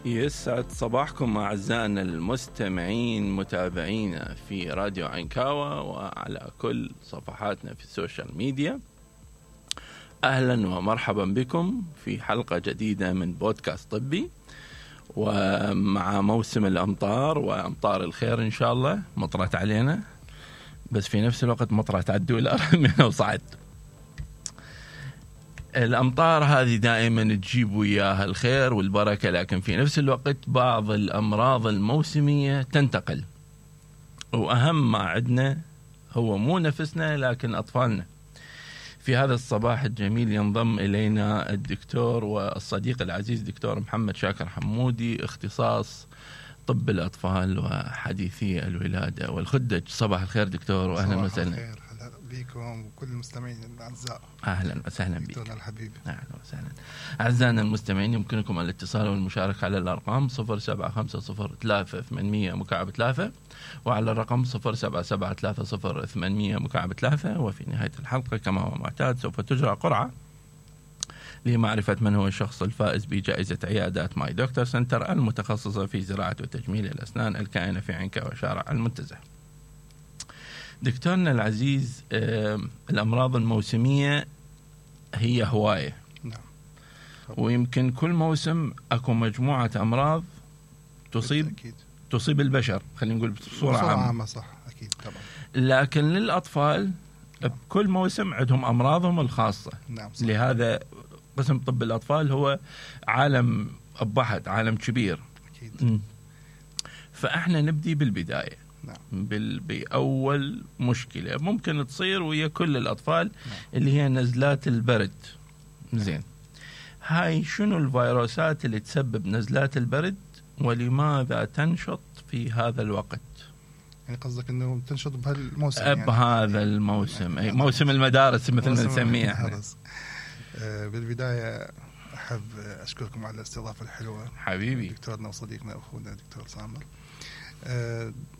يسعد صباحكم أعزائنا المستمعين متابعينا في راديو عنكاوة وعلى كل صفحاتنا في السوشيال ميديا. أهلا ومرحبا بكم في حلقة جديدة من بودكاست طبي، ومع موسم الأمطار وأمطار الخير إن شاء الله. مطرت علينا بس في نفس الوقت مطرت على الدولار منها وصعد. الأمطار هذه دائما تجيب وياها الخير والبركة، لكن في نفس الوقت بعض الأمراض الموسمية تنتقل، وأهم ما عندنا هو مو نفسنا لكن أطفالنا. في هذا الصباح الجميل ينضم إلينا الدكتور والصديق العزيز دكتور محمد شاكر حمودي، اختصاص طب الأطفال وحديثي الولادة والخدج. صباح الخير دكتور وأهلا وسهلا بكم وكل المستمعين الأعزاء. أهلا وسهلا بك دكتورنا الحبيب. أهلا وسهلا. أعزائنا المستمعين، يمكنكم الاتصال والمشاركة على الأرقام 07503800 وعلى الرقم 07730800. وفي نهاية الحلقة كما هو معتاد سوف تجرى قرعة لمعرفة من هو الشخص الفائز بجائزة عيادات ماي دكتور سنتر المتخصصة في زراعة وتجميل الأسنان الكائنة في عنكاوة شارع المنتزه. دكتورنا العزيز، الأمراض الموسمية هي هواية. نعم. ويمكن كل موسم أكو مجموعة أمراض تصيب البشر، خلينا نقول بصورة عامة. صح، أكيد طبعا. لكن للأطفال بكل موسم عندهم أمراضهم الخاصة. نعم. لهذا قسم طب الأطفال هو عالم بحث، عالم كبير. أكيد. فإحنا نبدي بالبداية. نعم. بأول مشكلة ممكن تصير ويا كل الأطفال. نعم. اللي هي نزلات البرد. زين، هاي شنو الفيروسات اللي تسبب نزلات البرد ولماذا تنشط في هذا الوقت؟ يعني قصدك انه تنشط بهالموسم؟ بهذا الموسم، أي موسم المدارس مثل ما نسميه احنا. بالبداية أحب أشكركم على الاستضافة الحلوة حبيبي دكتورنا وصديقنا أخونا دكتور سامر.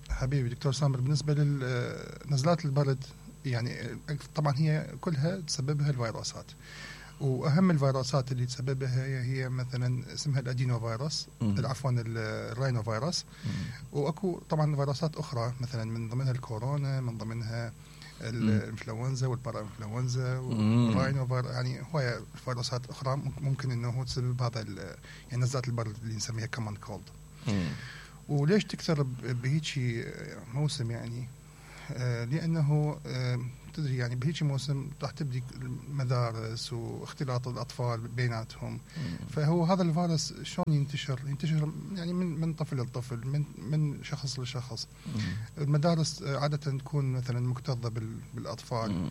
حبيبي دكتور سامر، بالنسبة لنزلات البرد يعني طبعا هي كلها تسببها الفيروسات، وأهم الفيروسات اللي تسببها هي مثلا اسمها الأدينو فيروس، عفوا الراينو فيروس. وأكو طبعا فيروسات أخرى مثلا من ضمنها الكورونا، من ضمنها الانفلونزا والبارا انفلونزا والراينو يعني هواية فيروسات أخرى ممكن إنه تسبب هذا يعني نزلات البرد اللي نسميها كمان كولد. وليش تكثر بهيجي موسم؟ يعني لأنه تدري يعني بهيجي موسم راح تبدي المدارس واختلاط الأطفال بيناتهم. فهو هذا الفيروس شلون ينتشر يعني من طفل لطفل، من شخص لشخص. المدارس عادة تكون مثلا مكتظة بالأطفال،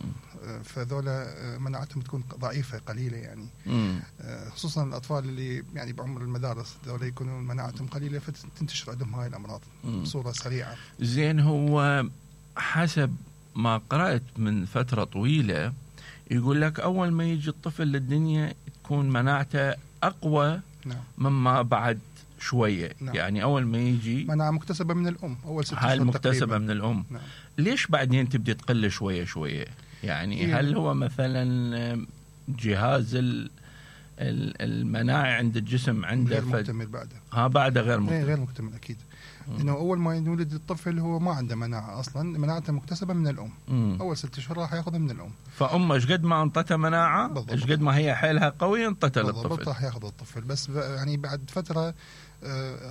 فذولا مناعتهم تكون ضعيفة قليلة يعني. خصوصا الأطفال اللي يعني بعمر المدارس ذولا يكونون مناعتهم قليلة، فتنتشر عندهم هاي الأمراض بصورة سريعة. زين، هو حسب ما قرأت من فترة طويلة يقول لك أول ما يجي الطفل للدنيا تكون مناعته أقوى. نعم. مما بعد شوية. نعم. يعني أول ما يجي مناعة مكتسبة من الأم، أول 6 شهور هاي المكتسبة من الأم. نعم. ليش بعدين تبدي تقل شوية شوية؟ يعني هل هو مثلا جهاز المناعة عند الجسم عنده غير مكتمل بعده؟ بعده غير مكتمل أكيد. إنه أول ما يولد الطفل هو ما عنده مناعة أصلاً، مناعته مكتسبة من الأم. أول 6 شهور راح يأخذها من الأم. فأمه إيش قد ما أنطتها مناعة، إيش قد ما هي حيلها قوية أنطتها للطفل. راح يأخذ الطفل، بس يعني بعد فترة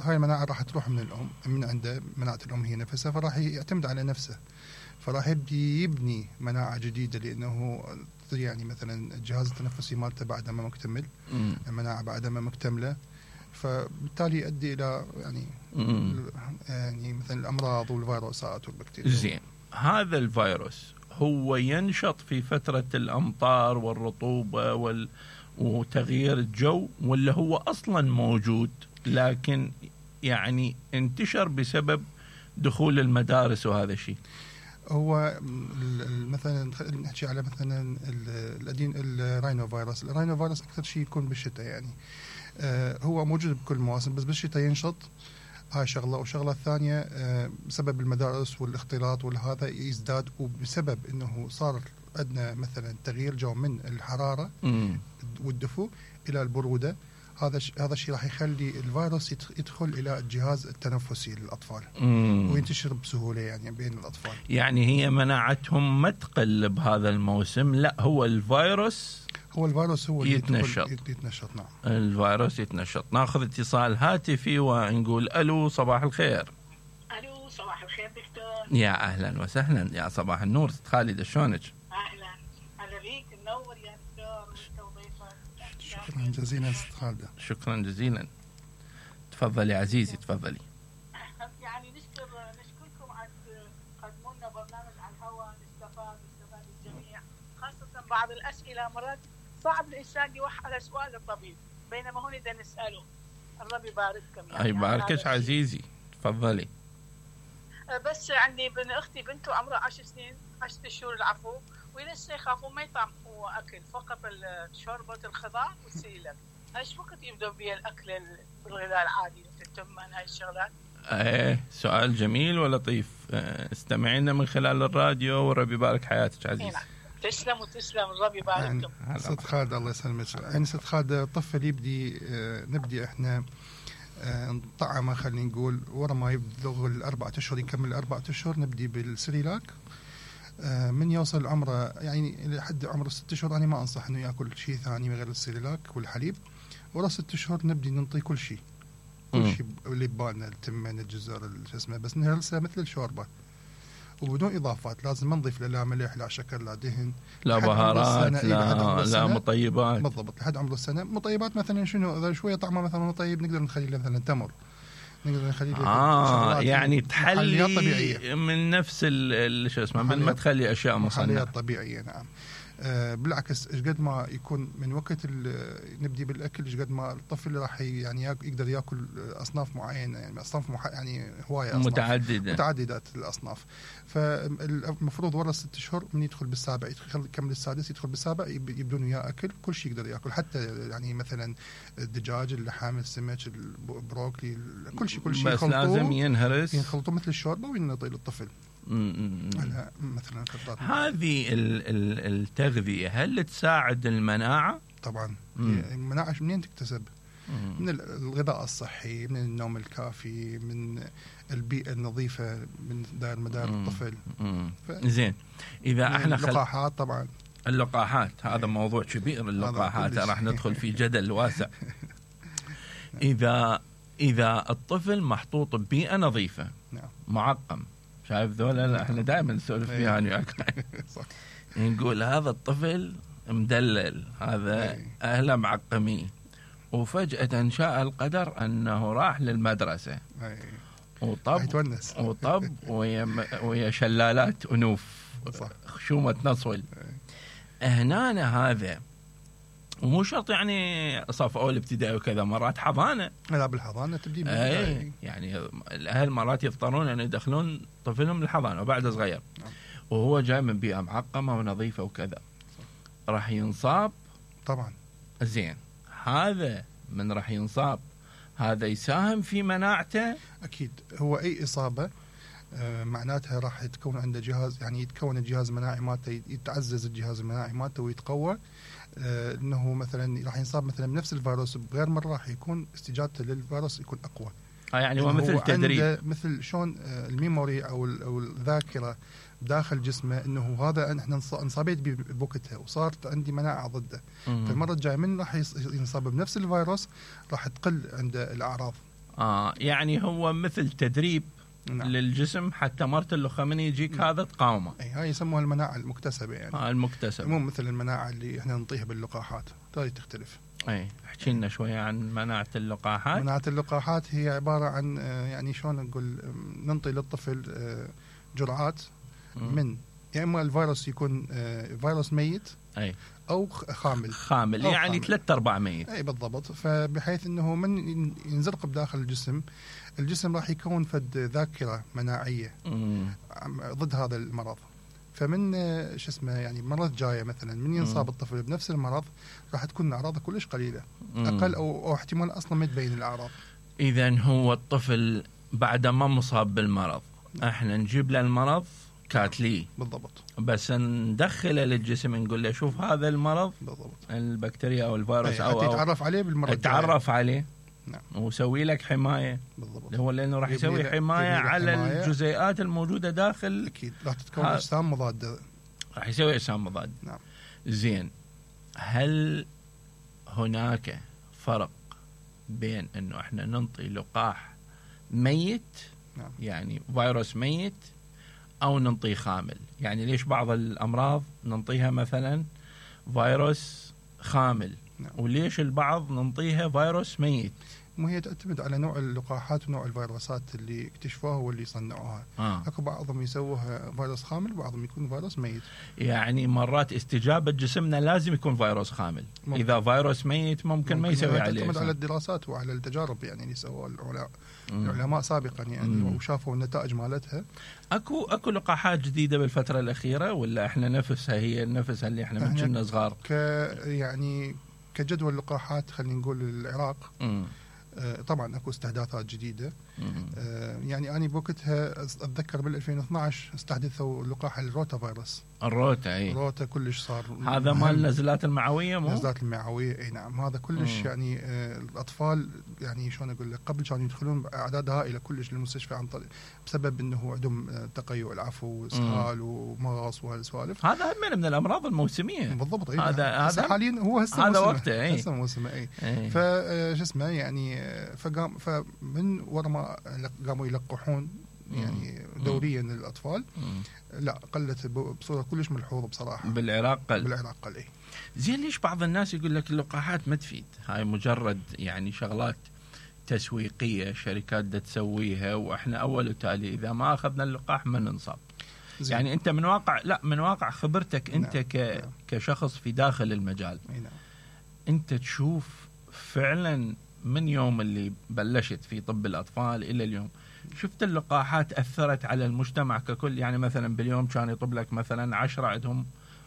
هاي المناعة راح تروح من الأم، من عنده مناعة الأم هي نفسها، فراح يعتمد على نفسه، فراح يبني مناعة جديدة. لأنه يعني مثلا الجهاز التنفسي مالته بعد ما مكتمل، المناعة بعد ما مكتملة، فبالتالي يؤدي إلى يعني مثلا الأمراض والفيروسات والبكتيريا. زين، هذا الفيروس هو ينشط في فترة الأمطار والرطوبة وتغيير الجو، ولا هو أصلا موجود لكن يعني انتشر بسبب دخول المدارس وهذا الشيء؟ هو مثلا نحكي على مثلا الراينو فيروس. الراينو فيروس أكثر شيء يكون بالشتاء، يعني هو موجود بكل المواسم، بس بالشتاء ينشط. هاي شغلة. والشغلة الثانية بسبب المدارس والاختلاط والهذا يزداد، وبسبب انه صار عندنا مثلا تغيير جو من الحرارة والدفو الى البرودة. هذا الشيء راح يخلي الفيروس يدخل الى الجهاز التنفسي للاطفال وينتشر بسهوله يعني بين الاطفال. يعني هي مناعتهم ما تقل بهذا الموسم، لا هو الفيروس هو يتنشط. نعم. الفيروس يتنشط. ناخذ اتصال هاتفي ونقول الو صباح الخير. الو صباح الخير دكتور. يا اهلا وسهلا، يا صباح النور ست خالد، شلونك؟ اهلا بيك، منور يا دكتور وانت وضيفك. شكرا جزيلا ست خالد. شكرا جزيلا، تفضلي عزيزي تفضلي. يعني نشكركم على تقدموا لنا برنامج على الهواء، نستفاد الجميع، خاصة بعض الأسئلة مرات صعب الإنسان يوحى على سؤال الطبيب بينما هون إذا نسأله. الله يبارككم. يعني يباركك عزيزي تفضلي. بس عندي ابن أختي بنته عمرها 10 سنين 10 شهور العفو، ولسه يخافوا ما يطعموا أكل، فقط شوربة الخضار والسيلك. ايش وقت يبدأ بيه الأكل بالغذاء العادي مثل التمن هاي الشغلات؟ سؤال جميل ولطيف. استمعينا من خلال الراديو وربي يبارك حياتك عزيز. تسلم ربي يبارككم. ست خالد الله يسلمك. يعني ست خالد الطفل نبدي احنا نطعمه، خلينا نقول ورا ما يبلغ ال4 أشهر، يكمل 4 أشهر نبدي بالسريلاك. من يوصل عمره يعني لحد عمره 6 شهور انا ما انصح انه ياكل شيء ثاني غير السريلاك والحليب. ورا 6 شهور نبدي ننطي كل شيء اللي ببالنا، التمن الجزر شو اسمه، بس نهرسه مثل الشوربه وبدون اضافات. لازم ما نضيف لا ملح لا شكر لا دهن لا بهارات لا مطيبات. بالضبط لحد عمره السنه. مطيبات مثلا شنو؟ اذا شويه طعمه مثلا طيب نقدر نخلي له مثلا تمر، نقدر نخليه يعني تحلي طبيعية من نفس شو اسمه من ما تخلي اشياء مصنعه طبيعيه. نعم. بالعكس ايش قد ما يكون من وقت نبدي بالاكل ايش قد ما الطفل راح يعني يقدر ياكل اصناف معينه، يعني اصناف يعني هوايه أصناف متعددات الاصناف. فالمفروض ورا 6 شهور من يدخل بالسابع يكمل السادس يدخل بالسابع يبدون وياه اكل كل شيء يقدر ياكل، حتى يعني مثلا الدجاج، اللحم، السمك، البروكلي، كل شيء بس لازم ينخلطوا مثل الشوربه وينطي للطفل. مثلا هذه التغذية هل تساعد المناعة؟ طبعا. المناعة منين تكتسب؟ من الغذاء الصحي، من النوم الكافي، من البيئة النظيفة، من دائر مدار الطفل. زين. إذا احنا اللقاحات طبعا. اللقاحات هذا موضوع كبير. اللقاحات راح ندخل في جدل واسع. إذا الطفل محطوط ببيئة نظيفة معقم، شايف ذولا احنا دائما نسولف فيها انا وياك. نقول هذا الطفل مدلل، هذا اهله معقمين، وفجأة شاء القدر انه راح للمدرسة وطب ويا شلالات انوف خشومة نصول. هنا هذا ومو شرط يعني صف اول ابتدائي وكذا، مرات حضانه. لا بالحضانه تبدي يعني الاهل مرات يضطرون ان يدخلون طفلهم الحضانه وبعد صغير وهو جاي من بيئه معقمه ونظيفه وكذا، راح ينصاب طبعا. زين، هذا من راح ينصاب هذا يساهم في مناعته اكيد. هو اي اصابه معناتها راح يتكون عنده جهاز، يعني يتكون الجهاز المناعي مالته، يتعزز الجهاز المناعي مالته ويتقوى. انه مثلا راح ينصاب مثلا بنفس الفيروس بغير مره، راح يكون استجابته للفيروس يكون اقوى. يعني هو مثل تدريب، مثل شلون الميموري او الذاكره داخل جسمه، انه هذا احنا انصابيت بوقتها وصارت عندي مناعه ضده. فالمره الجايه من راح ينصاب بنفس الفيروس راح تقل عنده الاعراض. يعني هو مثل تدريب للجسم حتى مرة اللخة من يجيك هذا تقاومه. هاي يسموها المناعة المكتسبة يعني. المكتسبة مو مثل المناعة اللي احنا نعطيها باللقاحات، هاي تختلف. احكي لنا شوية عن مناعة اللقاحات. مناعة اللقاحات هي عبارة عن يعني شلون نقول، ننطي للطفل جرعات من يا اما الفيروس يكون فيروس ميت او خامل يعني 3/4 ميت. اي بالضبط. فبحيث انه من ينزرق بداخل الجسم راح يكون فد ذاكره مناعيه ضد هذا المرض. فمن شو اسمه يعني المرات الجايه مثلا من ينصاب الطفل بنفس المرض راح تكون اعراضه كلش قليله، اقل او احتمال اصلا ما تبين الاعراض. اذا هو الطفل بعد ما مصاب بالمرض احنا نجيب له المرض كاتلي بالضبط. بس ندخله للجسم نقول له شوف هذا المرض بالضبط. البكتيريا او الفيروس او يتعرف عليه بالمره يتعرف عليه. نعم. ويسوي لك حمايه. بالضبط. هو لانه راح يسوي حمايه على الجزيئات الموجوده داخل. اكيد راح تتكون اجسام مضاده. راح يسوي اجسام مضاده. نعم. زين، هل هناك فرق بين انه احنا ننطي لقاح ميت، نعم. يعني فيروس ميت، او ننطيه خامل؟ يعني ليش بعض الامراض ننطيها مثلا فيروس خامل، نعم. وليش البعض ننطيها فيروس ميت؟ مو هي تعتمد على نوع اللقاحات ونوع الفيروسات اللي اكتشفوها واللي صنعوها. اكو بعضهم يسووها فيروس خامل وبعضهم يكون فيروس ميت. يعني مرات استجابة جسمنا لازم يكون فيروس خامل. ممكن. إذا فيروس ميت ممكن ما يسوي عليه. تعتمد على الدراسات وعلى التجارب يعني اللي سووها العلماء سابقا يعني وشافوا النتائج مالتها. اكو لقاحات جديدة بالفترة الأخيرة ولا احنا نفسها هي نفسها اللي احنا من كنا صغار؟ يعني كجدول لقاحات خلينا نقول العراق. طبعا اكو استحداثات جديده. يعني انا بوقتها اتذكر بال 2012 استحدثوا لقاح الروتا فيروس. الروتا كلش صار هذا مال النزلات المعويه. النزلات المعويه اي نعم. هذا كلش يعني الاطفال يعني شلون اقول لك قبل كانوا يدخلون باعداد هائله كلش للمستشفى عن طريق بسبب انه عندهم تقيؤ العفو واسهال ومغص وهالسوالف. هذا من الامراض الموسميه. بالضبط. هذا حاليا هو هذا وقته. هسه موسمه. فشو اسمه يعني فمن ورا ما قاموا يلقحون يعني دوريا للاطفال لا قلت بصوره كلش ملحوظه بصراحه. بالعراق قل. اي زين، ليش بعض الناس يقول لك اللقاحات ما تفيد؟ هاي مجرد يعني شغلات تسويقيه شركات دا تسويها، واحنا اول وتالي اذا ما اخذنا اللقاح ما ننصاب. يعني انت من واقع خبرتك انت نعم. كشخص في داخل المجال. نعم. انت تشوف فعلا من يوم اللي بلشت في طب الأطفال إلى اليوم شفت اللقاحات أثرت على المجتمع ككل؟ يعني مثلا باليوم كان يطب لك مثلا 10 عندهم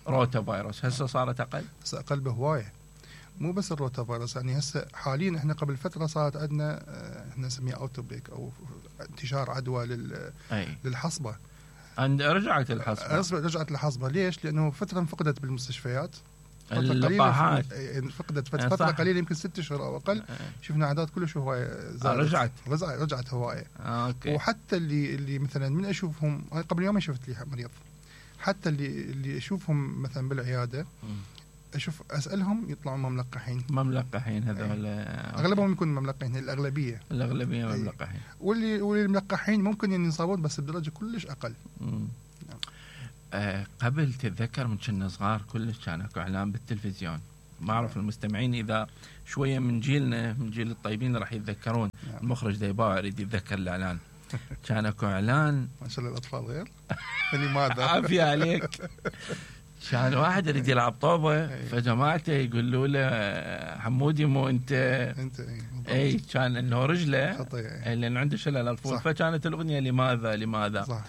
روتا فيروس، هسه صارت أقل؟ هسه أقل بهواية. مو بس الروتا فيروس يعني هسه حاليا احنا قبل فترة صارت عندنا احنا نسميها اوتوبيك أو انتشار عدوى للحصبة. رجعت الحصبة. ليش؟ لأنه فترة فقدت بالمستشفيات. اللقاحات فقدت فترة قليلة يمكن 6 أشهر أو أقل. شفنا أعداد كلش هواية زادت. رجعت هواية. وحتى اللي مثلا من أشوفهم قبل يومين شفت لي مريض، حتى اللي أشوفهم مثلا بالعيادة أشوف أسألهم يطلعون مملقحين هذول. أغلبهم يكونوا مملقحين. الأغلبية مملقحين. واللي الملقحين ممكن ينصابون بس بدرجة كلش أقل. قبل تتذكر من كنا صغار كلش كان اكو اعلان بالتلفزيون. ما اعرف المستمعين اذا شويه من جيلنا من جيل الطيبين راح يتذكرون. المخرج ديباع يريد يتذكر الاعلان. كان اكو اعلان ما شاء الله الاطفال غير لماذا عافيه عليك. كان واحد يريد يلعب طوبه فجماعته يقولوا له حمودي مو انت اي كان انه رجله لانه عنده شلل اطفال فكانت الاغنيه لماذا صح.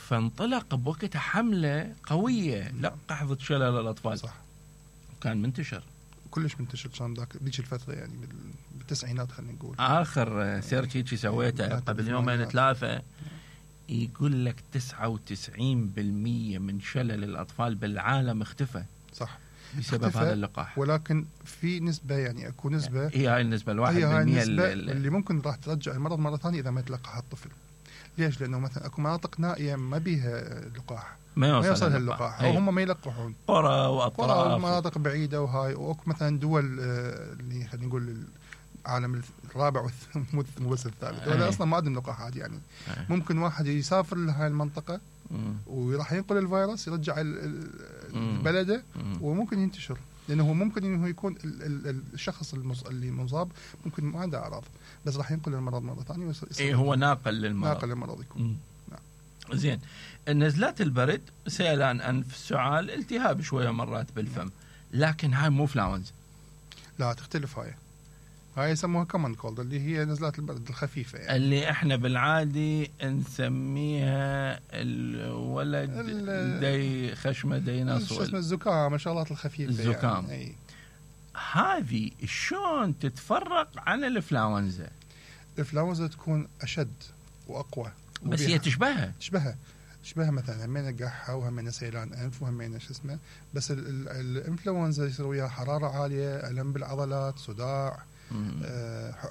فانطلق بوقتها حملة قوية لقح ضد شلل الأطفال. صح. كان منتشر كلش منتشر كان ذيك الفترة يعني بالتسعينات خلينا نقول. آخر سيرش هيك سويته قبل يومين 3 يقول لك 99% من شلل الأطفال بالعالم اختفى. صح. بسبب هذا اللقاح. ولكن في نسبة يعني أكو نسبة هي هاي النسبة 1% اللي ممكن راح ترجع المرض مرة ثانية إذا ما يتلقح الطفل. ليش؟ لأنه مثلا أكو مناطق نائية ما بيها لقاح ما يوصلها اللقاح أو هم ما يلقحون قرى وأطراف ومناطق بعيدة وهاي. وأكو مثلا دول اللي خلينا نقول العالم الرابع مو بس الثالث ولا أصلا ما عندهم لقاحات يعني. ممكن واحد يسافر لهاي المنطقة وراح ينقل الفيروس يرجع البلده وممكن ينتشر. لأنه ممكن إنه يكون الشخص اللي مصاب ممكن ما عنده أعراض بس راح ينقل المرض مرة ثانية. هو ناقل للمرض يكون. نعم. زين، نزلات البرد، سيلان أنف، سعال، التهاب شوية مرات بالفم، لكن هاي مو فلاونز. لا تختلف. هاي يسموها كومن كولد اللي هي نزلات البرد الخفيفة يعني. اللي احنا بالعادي نسميها الولد دي خشمة دي نص اسمه الزكام، الشغلات الخفيفة الزكام يعني. هذه شلون تتفرق عن الإنفلونزا؟ الإنفلونزا تكون أشد وأقوى بس هي تشبهها تشبه مثلا همينه قحه وهمينه سيلان انف وهمينه شو اسمه، بس الانفلونزا يصير وياها حراره عاليه، الم بالعضلات، صداع،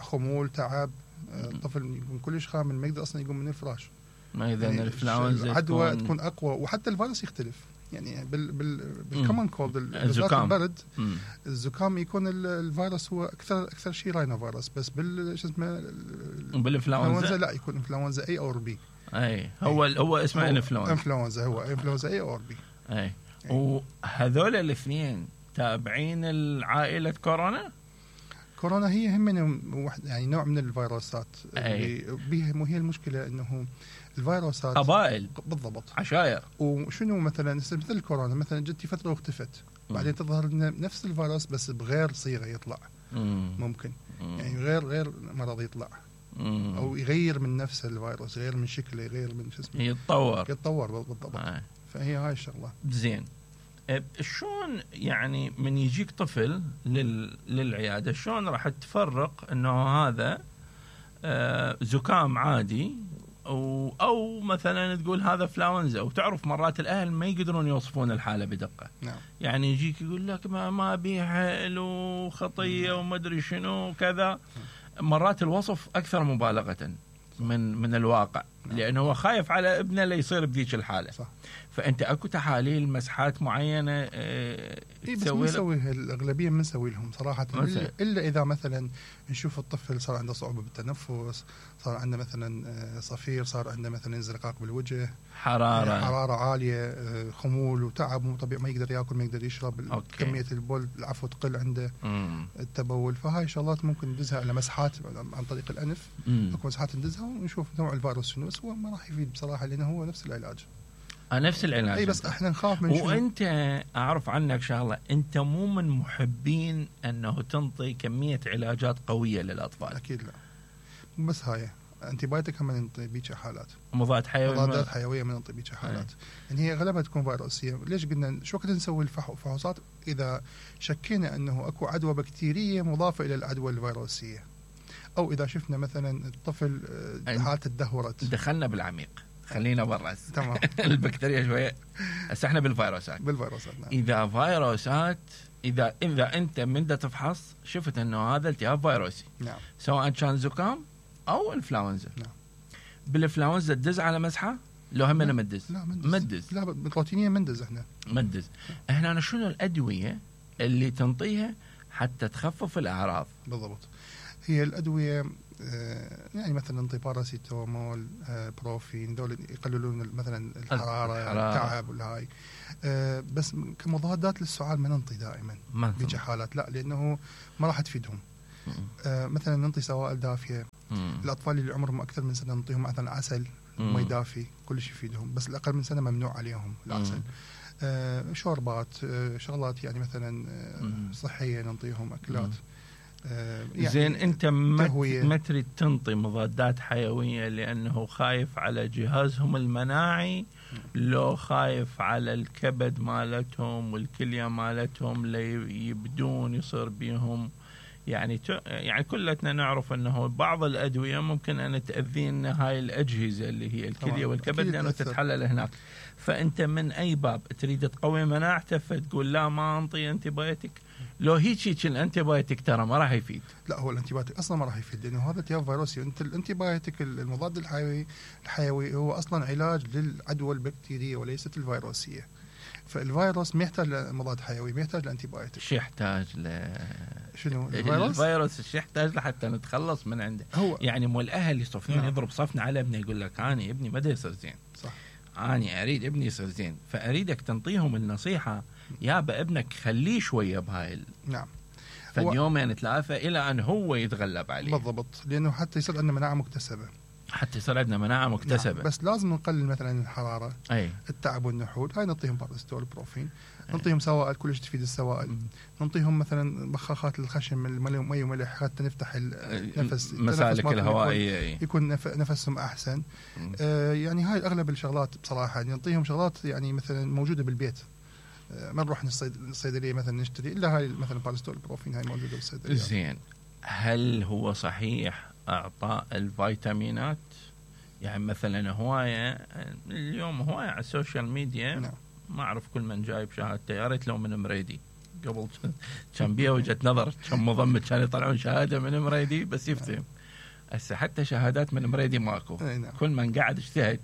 خمول، تعب، الطفل يكون كلش خامل ما يقدر اصلا يقوم من الفراش. ما اذا يعني الانفلونزا العدوى تكون اقوى، وحتى الفيروس يختلف يعني بالكومن كولد بالذات البرد الزكام يكون الفيروس هو اكثر شيء راينو فيروس، بس شو اسمه بالانفلونزا لا يكون انفلونزا اي اور بي. اي هو اسمه انفلونزا، هو انفلونزا اي اور بي. اي وهذول الاثنين تابعين العائله كورونا. كورونا هي هم يعني نوع من الفيروسات اللي هي المشكله انه الفيروسات قبائل بالضبط عشائر. وشنو مثلا مثل الكورونا مثلا جتي فتره واختفت، بعدين تظهر لنا نفس الفيروس بس بغير صيغه يطلع. ممكن يعني غير مرض يطلع او يغير من نفس الفيروس، يغير من شكله، يغير من شو اسمه، يتطور بالضبط. فهي هاي الشغله. زين شلون يعني من يجيك طفل للعياده شلون راح تفرق انه هذا زكام عادي او مثلا تقول هذا انفلونزا؟ وتعرف مرات الاهل ما يقدرون يوصفون الحاله بدقه. نعم. يعني يجيك يقول لك ما بيها له خطيه وما ادري شنو كذا. مرات الوصف اكثر مبالغه من الواقع. نعم. لانه هو خايف على ابنه لا يصير بذيك الحاله. صح. فانت اكو تحاليل مسحات معينه بس نسويها الاغلبيه ما نسوي لهم صراحه، الا اذا مثلا نشوف الطفل صار عنده صعوبه بالتنفس، صار عنده مثلا صفير، صار عنده مثلا انزلاق بالوجه، حراره عاليه، خمول وتعب مو طبيعي، ما يقدر ياكل، ما يقدر يشرب، كميه البول العفو تقل عنده، التبول. فهاي شغلات ممكن ندزها على مسحات عن طريق الانف. اكو مسحات ندزها ونشوف نوع الفيروس شنو، بس هو ما راح يفيد بصراحه لانه هو نفس العلاج. نفس العلاج. اي بس احنا نخاف من شنو. وانت اعرف عنك شغله، انت مو من محبين انه تنطي كميه علاجات قويه للاطفال. اكيد لا، بس هاي انتيبايوتيك هم ننطي بيك حالات، مضادات حيويه من ننطي بيك حالات. يعني هي غالبا تكون فيروسيه. ليش قلنا شو وقت نسوي الفحوصات؟ اذا شكينا انه اكو عدوى بكتيريه مضافه الى العدوى الفيروسيه، او اذا شفنا مثلا الطفل حالته تدهورت. دخلنا بالعميق، خلينا برا. تمام. البكتيريا شويه، هسه احنا بالفيروسات. نعم. اذا فيروسات، اذا انت من تفحص شفت انه هذا التهاب فيروسي، نعم، سواء كان زكام او انفلونزا، نعم، بالانفلونزا تدز على مسحه؟ لو هم مدز؟ لا مدز. لا روتينيا مندز. مدز. احنا شنو الادويه اللي تنطيها حتى تخفف الاعراض؟ بالضبط. هي الادويه يعني مثلا نعطي باراسيتامول، بروفين، دول يقللون مثلا الحراره، التعب والهاي. بس كمضادات للسعال ما ننطي دائما بيجي حالات، لا، لانه ما راح تفيدهم. مثلا ننطي سوائل دافيه. الاطفال اللي عمرهم اكثر من سنه ننطيهم مثلا عسل مي دافي، كلش يفيدهم، بس الاقل من سنه ممنوع عليهم العسل. شوربات، شغلات يعني مثلا صحيه ننطيهم، اكلات. يعني زين، انت ما تريد تنطي مضادات حيويه لانه خايف على جهازهم المناعي، لو خايف على الكبد مالتهم والكليه مالتهم ليبدون يصير بيهم يعني كلتنا نعرف انه بعض الادويه ممكن ان تاذينا هاي الاجهزه اللي هي الكليه والكبد لانه تتحلل هناك. فانت من اي باب تريد تقوي مناعته فتقول لا ما انطي انتيبايوتيك؟ لو هيك الانتيبايوتيك ترى ما راح يفيد. لا، هو الانتيبايوتيك اصلا ما راح يفيد لانه هذا التهاب فيروسي. انت الانتيبايوتيك المضاد الحيوي هو اصلا علاج للعدوى البكتيريه وليست الفيروسيه. فالفيروس ما يحتاج لمضاد حيوي، ما يحتاج لانتيبايوتيك. شو يحتاج شنو الفيروس شو يحتاج لحتى نتخلص من عنده؟ هو يعني مو الاهل يصفون يضرب صفنا على ابنه، يقول لك اني ابني ما يصير زين، صح، اني اريد ابني يصير زين، فاريدك تنطيهم النصيحه يابا ابنك خليه شويه بهاي. نعم. فاليومين ثلاثه الى ان هو يتغلب عليه. بالضبط، لانه حتى يصير عندنا مناعه مكتسبه. نعم. بس لازم نقلل مثلا الحراره، التعب والنحول. هاي نعطيهم باراسيتول، بروفين، نعطيهم سوائل كلش تفيد السوائل. نعطيهم مثلا بخاخات الخشم، مي وملح حتى نفتح النفس، مسالك الهوائيه، يكون نفسهم احسن. يعني هاي اغلب الشغلات بصراحه. نعطيهم شغلات يعني مثلا موجوده بالبيت، ما نروح الصيدليه مثلا نشتري الا هاي مثلا باراسيتول، بروفين، هاي موجوده بالصيدليه. زين، هل هو صحيح اعطاء الفيتامينات يعني مثلا هوايه اليوم هوايه على السوشيال ميديا. نعم. ما اعرف كل من جايب شهادته، يا ريت لو من مريدي قبل كان بيها وجهه نظر، كان مضمت كان يطلعون شهاده من مريدي بس يفتهم. هسه حتى شهادات من مريدي ماكو. نعم. كل من قاعد اجتهد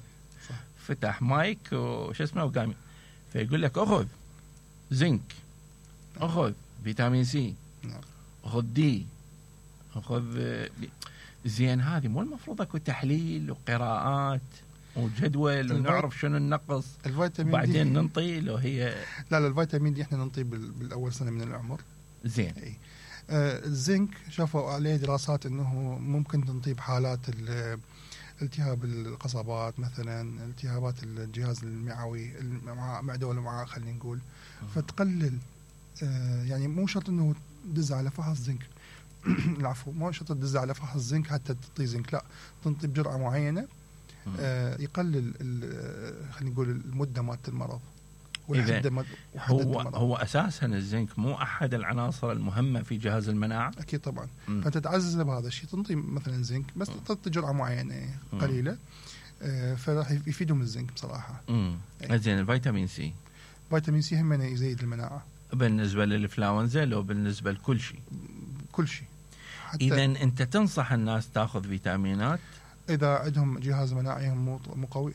صح. فتح مايك وش اسمه وقام فيقول لك اخذ زنك، اخذ فيتامين سي، نعم. اخذ دي، اخذ زين. هذه مو المفروض اكو تحليل وقراءات وجدول ونعرف شنو النقص الفيتامين بعدين دي ننطي لو هي؟ لا الفيتامين دي احنا ننطيه بالاول سنه من العمر. زين. الزنك شافوا عليه دراسات انه ممكن تنطيه بحالات التهاب القصبات مثلا، التهابات الجهاز المعوي، المعده والامعاء خلينا نقول. فتقلل يعني مو شرط انه تدز على فحص زنك العفو، مو شرط تدز على فحص زنك حتى تعطي زنك، لا تنطي بجرعه معينه يقلل خلينا نقول المده مالت المرض. هو اساسا الزنك مو احد العناصر المهمه في جهاز المناعه. اكيد طبعا. فانت تعزز بهذا الشيء، تنطي مثلا زنك بس تعطي جرعه معينه قليله، فراح يفيدهم الزنك بصراحه. زين. الفيتامين سي، فيتامين سي هم يزيد المناعه بالنسبه للانفلونزا لو بالنسبه لكل شيء؟ كل شيء. اذا انت تنصح الناس تاخذ فيتامينات اذا عندهم جهاز مناعي مو قوي،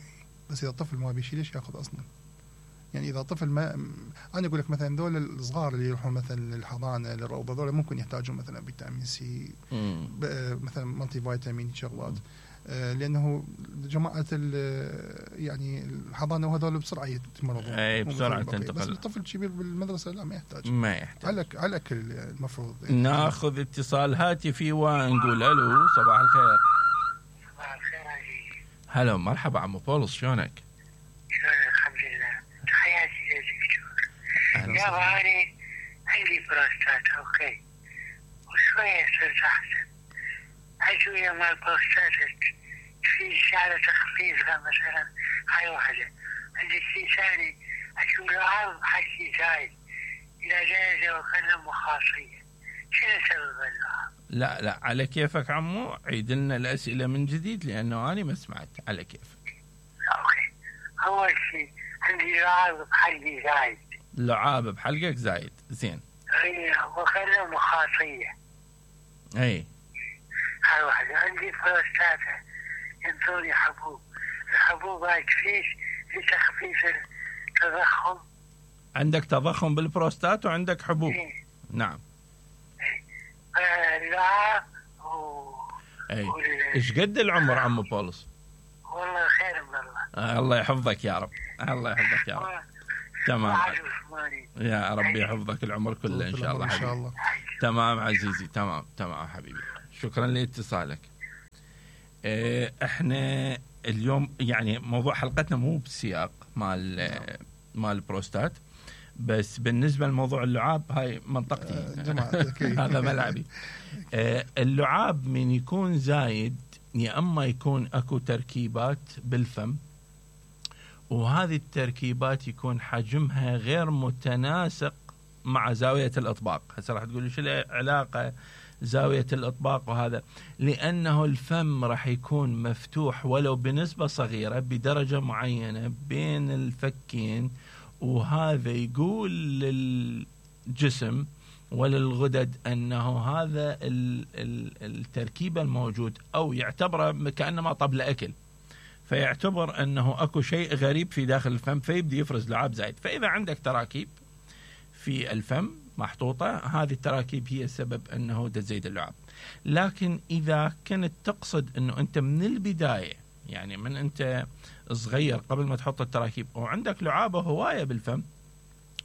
بس اذا الطفل ما بيشي ليش ياخذ اصلا؟ يعني اذا طفل ما، انا اقول لك مثلا ذول الصغار اللي يروحون مثلا للحضانه للروضه ذول ممكن يحتاجون مثلا فيتامين سي، مثلا مالتي فيتامين شغلات، لانه جماعه يعني الحضانه وهذول بسرعه يتمرضون. اي بسرعه تنتقل. بس الطفل الكبير بالمدرسه لا ما يحتاج. على الاكل المفروض. ناخذ اتصال هاتفي ونقول الو. صباح الخير. صباح الخير عزيزي. هلا مرحبا عمو بولس، شلونك؟ الحمد لله. تحياتي للدكتور. يا باري عندي بروستات اوكي وشويه صرت احسن. ادويه مال بروستات في على تخفيفها مثلا، هاي واحده. عندي شيء ثاني اشوف لعاب حكي زايد الى درجه وكان مخاصيه. شنو سبب اللعاب؟ لا على كيفك عمو، عيد لنا الاسئله من جديد لانه انا ما سمعت. على كيفك. اوكي. اول شيء عندي لعاب بحلقي زايد. لعاب بحلقك زايد. زين. اي وكان مخاصيه. اي هاي واحده. عندي بروستاتا ينطوني حبوب. الحبوب هاي تفيش لتخفيف التضخم. عندك تضخم بالبروستات وعندك حبوب. نعم. لا ايش قد العمر عمو بولس؟ والله خير من الله. الله يحفظك يا رب. الله يحفظك يا رب. تمام يا ربي يحفظك العمر كله ان شاء الله حبيبي. إن شاء الله. تمام عزيزي. تمام حبيبي. شكرا لاتصالك. احنا اليوم يعني موضوع حلقتنا مو بسياق مال البروستات، بس بالنسبة لموضوع اللعاب هاي منطقتي. هذا ملعبي. اللعاب من يكون زايد يا أما يكون أكو تركيبات بالفم، وهذه التركيبات يكون حجمها غير متناسق مع زاوية الإطباق. هسه راح تقولي شو العلاقة زاوية الإطباق وهذا؟ لأنه الفم راح يكون مفتوح ولو بنسبة صغيرة بدرجة معينة بين الفكين، وهذا يقول للجسم وللغدد أنه هذا التركيب الموجود، أو يعتبره كأنما طبل أكل، فيعتبر أنه أكو شيء غريب في داخل الفم، فيبدي يفرز لعاب زايد. فإذا عندك تراكيب في الفم محطوطة، هذه التراكيب هي السبب أنه تزيد اللعاب. لكن إذا كنت تقصد أنه أنت من البداية، يعني من أنت صغير قبل ما تحط التراكيب وعندك لعابة هواية بالفم،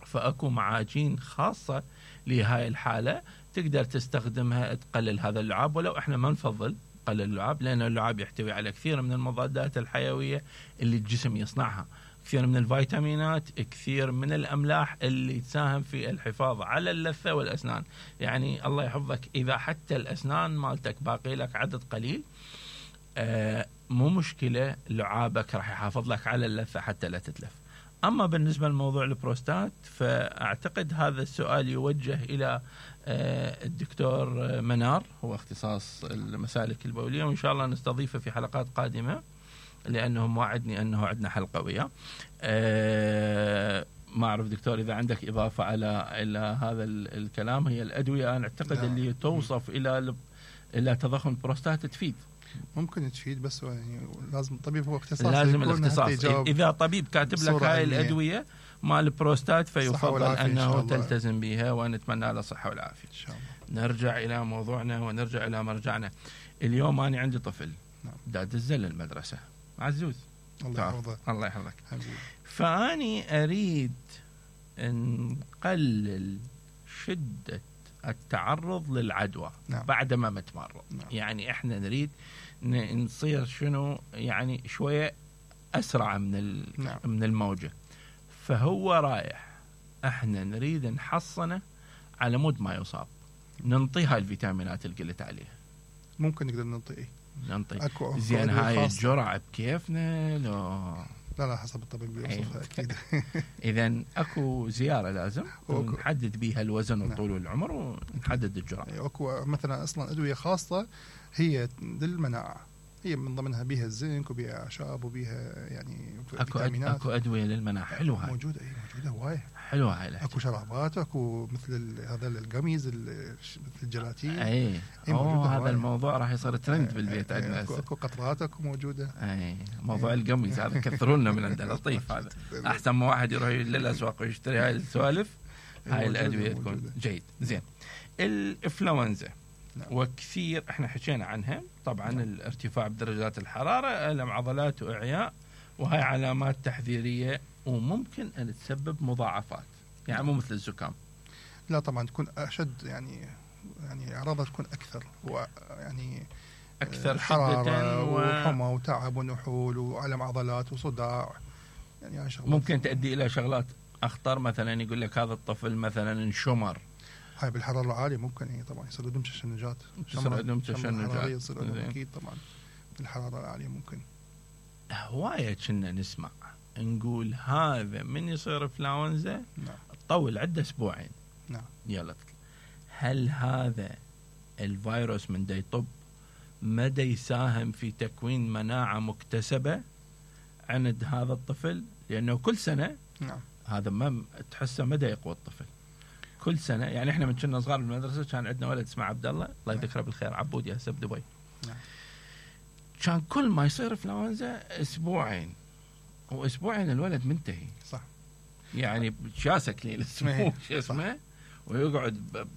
فأكو معاجين خاصة لهاي الحالة تقدر تستخدمها تقلل هذا اللعاب. ولو احنا ما نفضل قلل اللعاب، لأن اللعاب يحتوي على كثير من المضادات الحيوية اللي الجسم يصنعها، كثير من الفيتامينات، كثير من الأملاح اللي تساهم في الحفاظ على اللثة والأسنان. يعني الله يحفظك إذا حتى الأسنان مالتك باقي لك عدد قليل، مو مشكلة، لعابك راح يحافظ لك على اللثة حتى لا تتلف. أما بالنسبة لموضوع البروستات، فأعتقد هذا السؤال يوجه إلى الدكتور منار، هو اختصاص المسالك البولية، وإن شاء الله نستضيفه في حلقات قادمة لأنه وعدني أنه عندنا حلقة وياه. ما أعرف دكتور إذا عندك إضافة إلى هذا الكلام. هي الأدوية أنا أعتقد اللي توصف إلى تضخم البروستات تفيد. ممكن تفيد، بس يعني لازم الطبيب هو اختصاص، لازم الاختصاص. إذا طبيب كاتب لك هاي الأدوية مال البروستات فيفضل أنه تلتزم بها، ونتمنى له الصحة والعافية إن شاء الله. نرجع إلى موضوعنا ونرجع إلى مرجعنا. اليوم أنا عندي طفل داد الزل المدرسة عزوز، الله يحفظه. الله يحفظك. فأني أريد أن نقلل شدة التعرض للعدوى بعد ما متمرض. يعني احنا نريد نصير شنو يعني شوية أسرع من الموجة. فهو رايح، احنا نريد نحصنه على مود ما يصاب، ننطيها الفيتامينات اللي قلت عليها. ممكن نقدر ننطي زين هاي الجرعة بكيفنا لو لا حسب الطبيب بيوصفها أكيد. إذن أكو زيارة لازم نحدد بيها الوزن والطول والعمر ونحدد الجرعة. أكو مثلا أصلا أدوية خاصة هي للمناعة، هي من ضمنها بيها الزنك وبيها أعشاب وبيها يعني فيتامينات. أكو أدوية للمناعة حلوة هاي. موجودة هواي حلوة هاي. أكو شرابات، أكو مثل هذا الجاميز مثل الجلاتين. هذا الموضوع راح يصير ترند بالبيت عندنا. أكو قطرات أكو موجودة. موضوع الجاميز هذا كثروا لنا من عندنا. لطيف هذا. أحسن ما واحد يروح للأسواق ويشتري هاي السوالف. هاي الأدوية تكون جيد. زين الإنفلونزا وكثير احنا حكينا عنها طبعا. الارتفاع بدرجات الحرارة، ألم عضلات وإعياء، وهي علامات تحذيرية وممكن أن تسبب مضاعفات. يعني مو مثل الزكام. لا طبعا تكون أشد، يعني أعراضها تكون أكثر، ويعني أكثر حرارة وحمى وتعب ونحول وألم عضلات وصداع. يعني ممكن تؤدي إلى شغلات أخطر، مثلا يقول لك هذا الطفل مثلا انشمر. هاي بالحرارة العالية ممكن طبعا يصير لهم تشنجات. أكيد طبعا بالحرارة العالية ممكن. هواية كنا نسمع نقول هذا من يصير إنفلونزا طول عدة أسبوعين. يلا هل هذا الفيروس من دا يطب مدى يساهم في تكوين مناعة مكتسبة عند هذا الطفل؟ لأنه كل سنة هذا ما تحسه مدى يقوى الطفل كل سنة. يعني احنا من كنا صغار بالمدرسة كان عندنا ولد اسمه عبد الله يذكره بالخير، عبودي هسه بدبي. كان كل ما يصير إنفلونزا أسبوعين، وأسبوعين الولد منتهي. صح. يعني شاسك لي الاسمه شو اسمه، ويقعد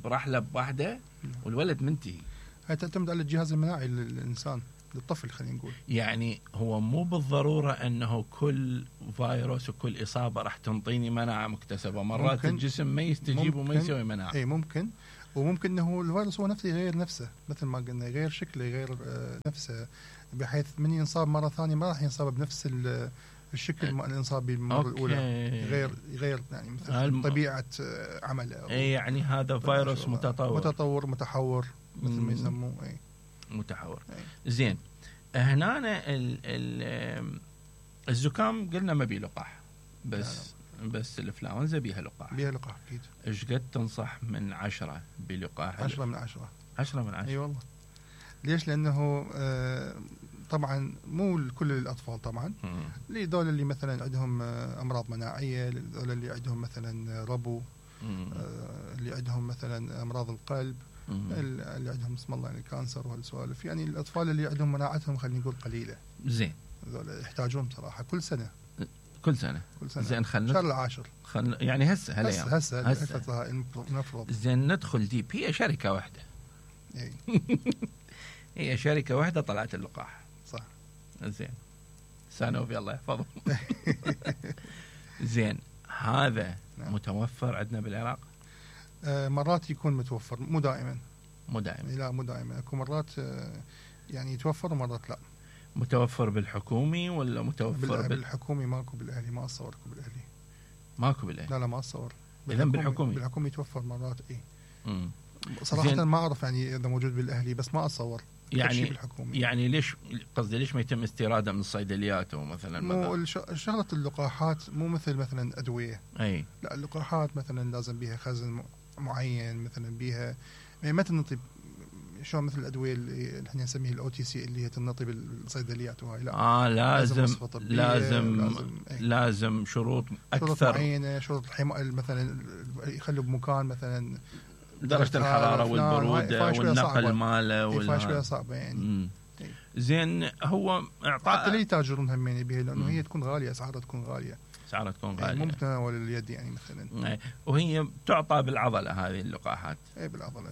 برحلة بواحدة والولد منتهي. هي تعتمد على الجهاز المناعي للإنسان، للطفل خلينا نقول. يعني هو مو بالضرورة أنه كل فيروس وكل إصابة راح تنطيني مناعة مكتسبة. مرات الجسم ما يستجيب وما يسوي مناعة. ممكن، وممكن أنه الفيروس هو نفسه يغير نفسه، مثل ما قلنا يغير شكله، يغير نفسه، بحيث من ينصاب مرة ثانية ما راح ينصاب بنفس الشكل اللي انصاب بالمرة الأولى. يغير يعني مثل طبيعة عمله. يعني هذا فيروس متطور متحور مثل ما يسموه. متحور. زين هنا الزكام قلنا ما بيه لقاح، بس الإنفلونزا بيها لقاح. أكيد. إيش قد تنصح من 10 بلقاح؟ 10 من 10. 10 من 10. أي والله. ليش؟ لأنه طبعا مو كل الأطفال طبعا. لذول اللي مثلا عندهم أمراض مناعية، لذول اللي عندهم مثلا ربو، اللي عندهم مثلا أمراض القلب، اللي عندهم اسم الله يعني الكانسر وهالسوالف. يعني الأطفال اللي عندهم مناعتهم خلينا نقول قليلة. زين. هذول يحتاجون بصراحة كل سنة. زين خلنا شهر العاشر. يعني هسه نفرض. زين ندخل ديب. هي شركة واحدة. هي شركة واحدة طلعت اللقاح. صح. زين سانوفي الله يحفظهم. زين هذا متوفر عندنا بالعراق؟ مرات يكون متوفر، مو دائما. لا مو دائما. اكو مرات يعني يتوفر ومرات لا. متوفر بالحكومي ولا متوفر بالحكومي؟ ماكو بالأهلي، ما أصور بالأهلي. ماكو بالأهلي؟ لا ما أصور. إذا بالحكومي يتوفر مرات. صراحة ما أعرف يعني إذا موجود بالأهلي، بس ما أصور. يعني ليش قصدي ليش ما يتم استيراده من الصيدليات مثلا؟ مو شغلة اللقاحات مو مثلا أدوية. لا اللقاحات مثلا لازم بيها خزن معين، مثلا بيها ما تنطي شلون مثل الادويه اللي احنا نسميها الاو تي سي اللي هي تنطي بالصيدليات وهاي لا لازم وصفة طبية، لازم شروط شروط اكثر، معينه، شروط مثلا يخلوا بمكان مثلا درجه الحراره والبروده والنقل ماله فيها شويه صعبه يعني. زين هو اعطاء حتى اللي يتاجرون همين بها لانه هي تكون غاليه، اسعارها تكون غاليه، اسعارها تكون غاليه، مو متناول اليد يعني مثلا. وهي تعطى بالعضله هذه اللقاحات، بالعضله،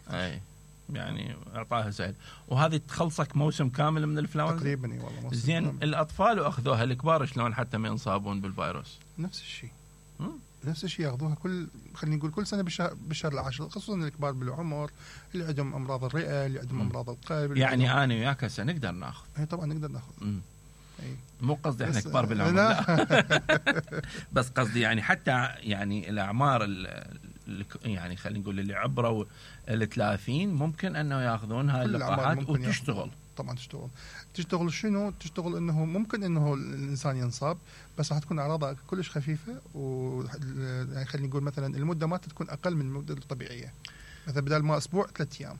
يعني اعطاها سهل. وهذه تخلصك موسم كامل من الانفلونزا تقريبا. والله موسم زين كامل. الاطفال واخذوها، الكبار شلون حتى ما ينصابون بالفيروس؟ نفس الشيء ياخذوها خلينا نقول كل سنه بالشهر العاشر، خصوصا الكبار بالعمر اللي عندهم امراض الرئه، اللي عندهم امراض القلب. يعني انا وياك هسه نقدر ناخذ؟ طبعا نقدر ناخذ. مو قصدي احنا كبار بالعمر، لا. بس قصدي يعني حتى يعني الاعمار يعني خلينا نقول اللي عبروا ال30 ممكن انه ياخذون هاي اللقاحات وتشتغل. طبعا تشتغل شنو؟ تشتغل انه ممكن انه الانسان ينصاب، بس راح تكون اعراضها كلش خفيفه، يعني خلينا نقول مثلا المده ما تكون اقل من المده الطبيعيه، مثلا بدل ما اسبوع 3 ايام.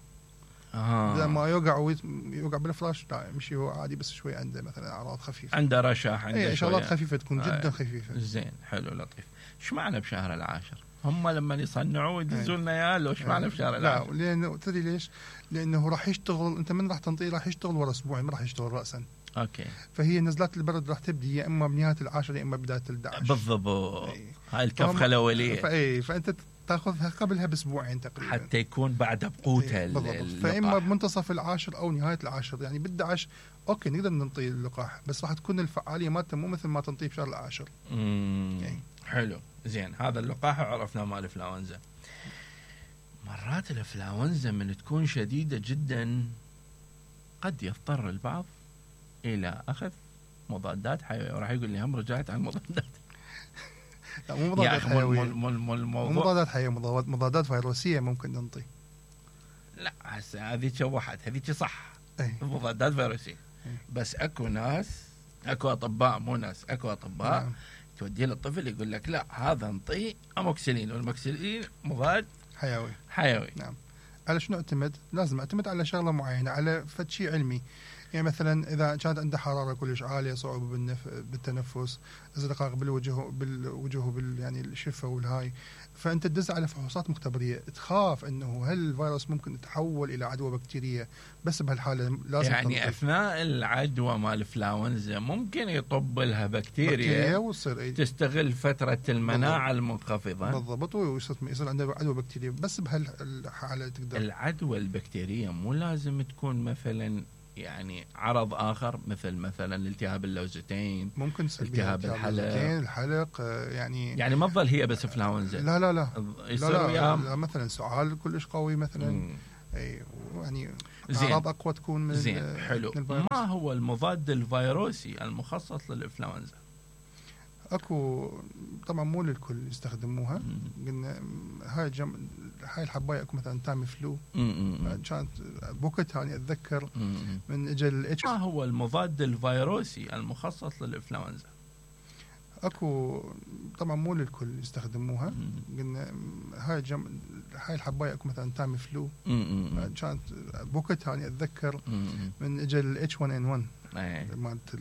بدل ما يوقع بالفراش، لا يمشي هو عادي، بس شوي عنده مثلا اعراض خفيفه، عنده رشح، عنده شغلات خفيفه تكون جدا خفيفه. زين، حلو، لطيف. ايش معنى بشهر العاشر؟ هم لما يصنعوا يدزوا لنا اياه، لو ايش معنى بشهر العاشر؟ لا، لانه تدري ليش؟ لانه راح يشتغل، انت من راح تنطيه راح يشتغل ورا اسبوعين، ما راح يشتغل راسا. اوكي. فهي نزلات البرد راح تبدي يا اما بنهايه العاشر يا اما بدايه ال11. بالضبط. هاي الكفخه الاوليه. فانت تاخذها قبلها باسبوعين تقريبا حتى يكون بعد بقوته. فاما بمنتصف العاشر او نهايه العاشر، يعني بال11 اوكي نقدر ننطي اللقاح، بس راح تكون الفعاليه مالته مو مثل ما تنطيه بشهر العاشر. حلو. زين، هذا اللقاح عرفنا مال الانفلونزا. مرات الانفلونزا من تكون شديده جدا قد يضطر البعض الى اخذ مضادات حيويه، وراح يقول لي هم رجعت عن مضادات. لا، مو مضادات حيويه، مو مضادات حيويه، مضادات فيروسيه ممكن ننطي. لا هسه هذيك شوحت، هذيك صح. مضادات فيروسيه. بس اكو ناس، اكو اطباء، مو ناس، اكو اطباء. نعم. توديه للطفل يقول لك لا هذا نطيه اموكسيلين، والموكسيلين مضاد حيوي. نعم. على شنو اعتمد؟ لازم اعتمد على شغله معينه، على فد شيء علمي. يعني مثلا اذا كانت عنده حراره كلش عاليه، صعوبه بالتنفس، ازرقاق بالوجه يعني الشفه والهاي، فانت تدز على فحوصات مختبريه، تخاف انه هل الفيروس ممكن يتحول الى عدوى بكتيريه، بس بهالحاله لازم يعني اثناء العدوى مال الانفلونزا ممكن يطب لها بكتيريا وتصير تستغل فتره المناعه المنخفضه. بالضبط، ويصير عنده عدوى بكتيريه، بس بهالحاله تقدر. العدوى البكتيريه مو لازم تكون مثلا يعني عرض اخر، مثلا التهاب اللوزتين، ممكن التهاب الحلق يعني ما تظل هي بس انفلونزا. لا مثلا سعال كلش قوي مثلا. يعني اعراض اقوى تكون من. زين، حلو. ما هو المضاد الفيروسي المخصص للانفلونزا؟ اكو طبعا مو للكل يستخدموها. قلنا هاي الحبايه اكو مثلا تامي فلو، كانت بوقتها اني اتذكر من اجل ما هو المضاد الفيروسي المخصص للانفلونزا؟ اكو طبعا مو للكل يستخدموها. قلنا هاي الحبايه اكو مثلا تامي فلو، كانت بوقتها اني اتذكر من اجل H1N1 مالت